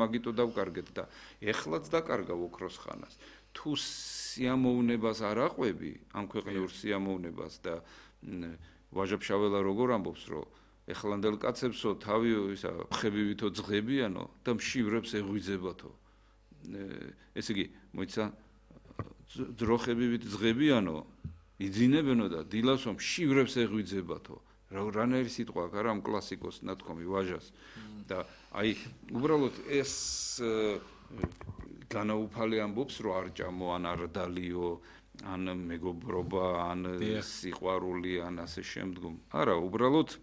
მაგიტო დავკარგეთ და ეხლაც დაკარგა ოქროს ხანას. თუ სიამოვნებას არ აყვები, ამ ქვეყნიურ სიამოვნებას და ვაჟა-ფშაველა როგორ ამბობს, რომ ეხლანდელ კაცებსო თავი ისა ხებივითო ძღებიანო და მშივრებს ეღვიძებათო. ესე იგი, მოიცა ძროხებივით ძღებიანო იძინებენო და დილასო მშივრებს ეღვიძებათო. რანაირი სიტყვა აქვს არა ამ კლასიკოს ნათქვამი ვაჟას და აი უბრალოდ ეს განაუფალი ამბობს რომ არ ჭამო ან არ დალიო ან მეგობრობა ან სიყვარული ან ასე შემდგომ არა უბრალოდ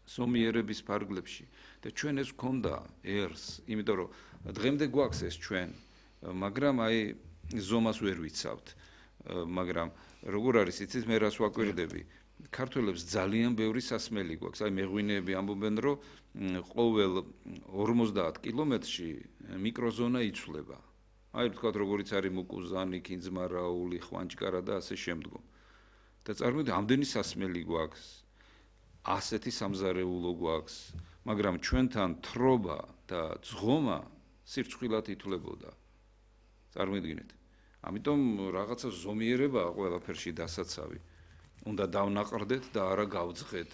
ზომიერების ფარგლებში და ჩვენ ეს გქონდა ერს იმიტომ რომ დღემდე გვაქვს ეს ჩვენ მაგრამ აი ზომას ვერ ვიცავთ მაგრამ როგორ არის იცით მე რას ვაკვირდები ქართველებს ძალიან ბევრი სასმელი გვაქვს. აი მეღვინეები ამბობენ, რომ ყოველ 50 კილომეტრში მიკროზონა იცვლება. აი ვთქვათ, როგორიც არის მუკუზანი, კინძმარაული, ხვანჭკარა და ასე შემდგომ. და წარმოიდგინეთ, ამდენი სასმელი გვაქვს. ასეთი სამზარეულო გვაქვს, მაგრამ ჩვენთან თრობა და ძღომა სირცხვილად ითვლებოდა. წარმოიდგინეთ. ამიტომ რაღაცა ზომიერებაა ყველაფერში დასაცავი. უნდა დავნაყრდეთ და არა გავძღეთ.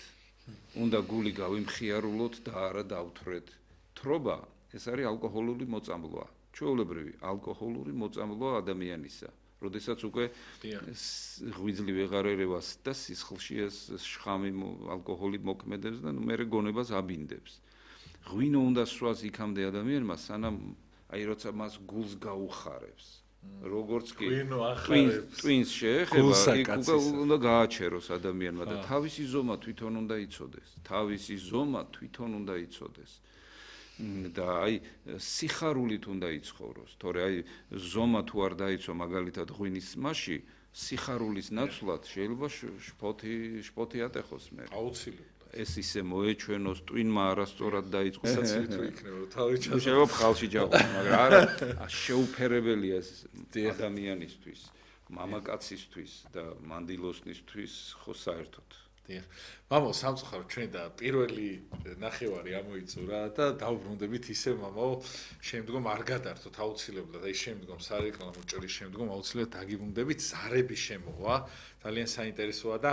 უნდა გული გავიმხიარულოთ და არა დავთვრეთ. თრობა ეს არის ალკოჰოლური მოწამლვა. ჩვეულებრივი ალკოჰოლური მოწამლვა ადამიანისა. როდესაც უკვე ღვიძლი ვეღარ ერევას და სისხლში ეს შხამი ალკოჰოლი მოქმედებს და მე გონებას აბინდებს. ღვინო უნდა სვას იქამდე ადამიანმა, სანამ აი როცა მას გულს გაუხარებს. როგორც კი twins შეეხება, უნდა გააჩეროს ადამიანმა და თავისი ზომა თვითონ უნდა იცოდეს. თავისი ზომა თვითონ უნდა იცოდეს. და აი სიხარულით უნდა იცხოვროს. თორე აი ზომა თუ არ დაიცვა მაგალითად ღვინის მასში, სიხარულის ნაცვლად შეიძლება შპოთი ატეხოს მე. აუცილებლად. ეს ისე მოეჩვენოს twin-მა არასწორად დაიწყო. საცილით იქნება, თავი ჩაძო. შეიძლება ხალხში ჯავხოს, მაგრამ არა შეუფერებელია ეს ადამიანისთვის, მამაკაცისთვის და მანდილოსნისთვის ხო საერთოდ. დიახ. მამო, სამწუხაროდ ჩვენ და პირველი ნახევარი ამოიწურა და დავბრუნდებით ისე მამო, შემდგომ არ გადართოთ აუცილებლად, აი შემდგომ სარეკლამო ჭრის შემდგომ აუცილებლად დაგიბრუნდებით, ზარების შემოვა. ძალიან საინტერესოა და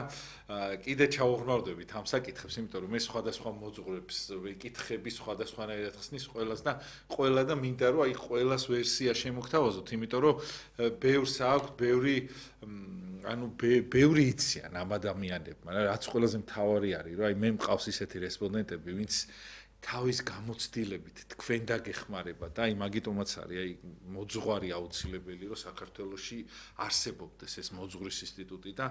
კიდე ჩავუღრმავდებით ამ საკითხებს, იმიტომ რომ მე სხვადასხვა მოძღვრებს ვიკითხები, სხვადასხვანაირად ხსნის ყველას და ყველა და მინდა რომ აი ყველას ვერსია შემოგთავაზოთ, იმიტომ რომ ბევრს აქვს, ბევრი იციან ამ ადამიანებმა, რაც ყველაზე მთავარი არის, რომ აი მე მყავს ისეთი რესპონდენტები, ვინც თავის გამოცდილებით თქვენ დაგეხმარება და აი მაგიტომაც არის აი მოძღვარი აუცილებელი რომ საქართველოში არსებობდეს ეს მოძღვრის ინსტიტუტი და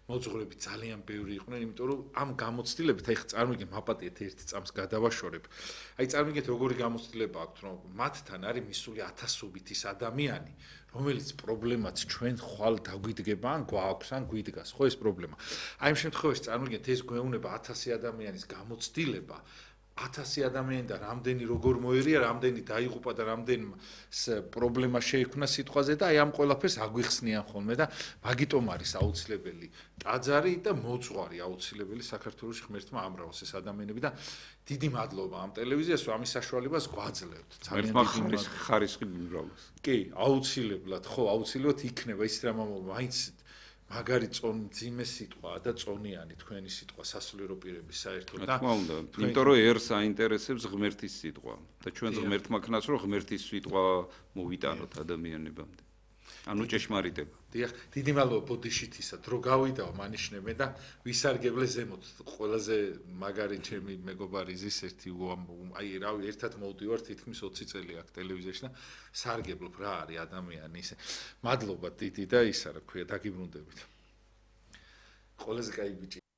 მოძღვრები ძალიან ბევრი იყვნენ იმიტომ რომ ამ გამოცდილებით აი წარმოგიდგენ მაპატიეთ ერთი წამს გადავაშორებ აი წარმოგიდგეთ როგორი გამოცდილება აქვს რომ მათთან არის მისული ათასობით ის ადამიანი რომელიც პრობლემაც ჩვენ ხვალ დაგვიდგება ან გვაქვს ან გვიდგას ხო ეს პრობლემა აი ამ შემთხვევაში წარმოგიდგეთ ეს გვეუბნება 1000 ადამიანის გამოცდილება 1000 ადამიანი და რამდენი როგორ მოერია, რამდენი დაიღუპა და რამდენი პრობლემა შეიქმნა სიტყვაზე და აი ამ ყველაფერს აგვიხსნიან ხოლმე და მაგიტომ არის აუცილებელი ტაძარი და მოძღვარი აუცილებელი საქართველოში ღმერთმა ამრავლოს ეს ადამიანები და დიდი მადლობა ამ ტელევიზიას რომ ამის საშუალებას გვაძლევთ. ძალიან დიდი ხარისხი მიმრავლოს. კი, აუცილებლად, ხო, აუცილებლად იქნება ის რამ მაინც მაგარი მძიმე სიტყვაა და წონიანი თქვენი სიტყვა სასულიერო პირების საერთოდ და თქმა უნდა, იმიტომ რომ ერს აინტერესებს ღმერთის სიტყვა და ჩვენს ღმერთმა ქნას რომ ღმერთის სიტყვა მოვიტანოთ ადამიანებამდე. ანუ ჭეშმარიტება. დიახ, დიდი მადლობა ბოდიშითისა, დრო გავიდაო მანიშნებენ და ვისარგებლე ზემოთ ყველაზე მაგარი ჩემი მეგობარი ზის ერთი აი რავი ერთად მოვდივარ თითქმის 20 წელი აქ ტელევიზიაში და სარგებლობ რა არის ადამიანი ისე. მადლობა დიდი და ისა რა ქვია დაგიბრუნდებით. ყველაზე კაი ბიჭი